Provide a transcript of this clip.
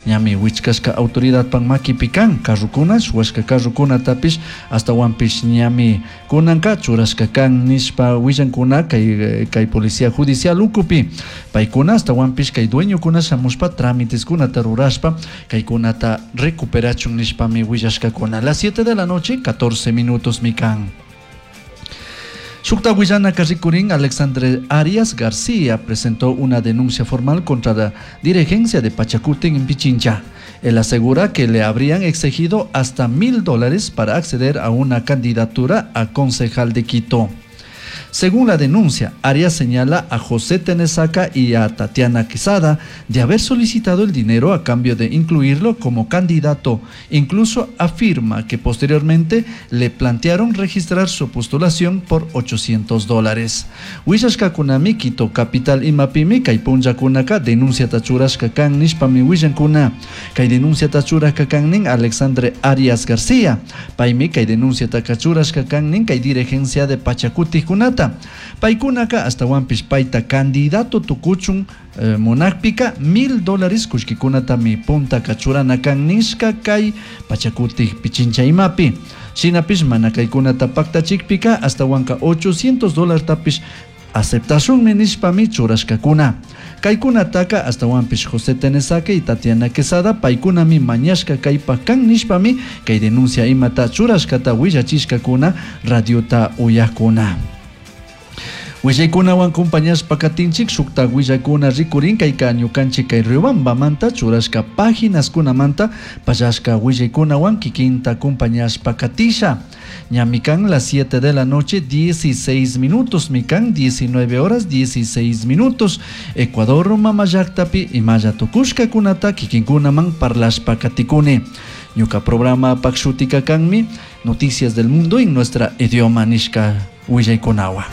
Ñami wichkashka autoridadpak makipi kan carrokuna, shuwashka carrokunatapish ashtawanpish ñami kunanka churashka kan nishpa willankuna kay, kay policía judicial ukupi. Paykuna ashtawanpish kay dueñokuna shamushpa trámiteskunata rurashpa kaykunata recuperachun nishpami willashkakuna. Las 7 de la noche, 14 minutos mi kan. Shukta willanaka rikurin Alexandre Arias García presentó una denuncia formal contra la dirigencia de Pachacuti en Pichincha. Él asegura que le habrían exigido hasta $1.000 para acceder a una candidatura a concejal de Quito. Según la denuncia, Arias señala a José Tenesaca y a Tatiana Quesada de haber solicitado el dinero a cambio de incluirlo como candidato. Incluso afirma que posteriormente le plantearon registrar su postulación por $800. Willashkakunami Quito capital imapimi kay punllakunaka denunciata churashka kan nishpami willankuna. Kay denunciata churashka kan nin Alexandre Arias García. Paymi kay denunciataka churashka kan nin kay dirigencia de Pachacutikunata. Paykunaka ashtawanpish payta candidato tukuchun munakpika $1.000 kullkikunatami puntaka churana kan nishka kay Pachakutik Pichincha imapi. Shinapish mana kaykunata paktachikpika ashtawanka $800tapish aceptashunmi nishpami churashkakuna. Kaykunataka ashtawanpish José Tenesaca y Tatiana Quesada paykunami mañashka kaypak kan nishpami kay denuncia imata churashkata willachishkakuna radiota uyakuna. Willaykunawan compañashpa katinchik shukta willakuna rikurin kayka ñukanchik kay Riobambamanta churashka páginaskunamanta pallashka willaykunawan kikinta compañashpa katisha. Ñami kan las 7 de la noche 16 minutos, mikan 19 horas 16 minutos. Ecuador mama llaktapi imalla tukushkakunata kikinkunaman parlashpa katikuni. Ñuka programa pak shutika kanmi Noticias del Mundo en nuestra idioma nishka willaykunawa.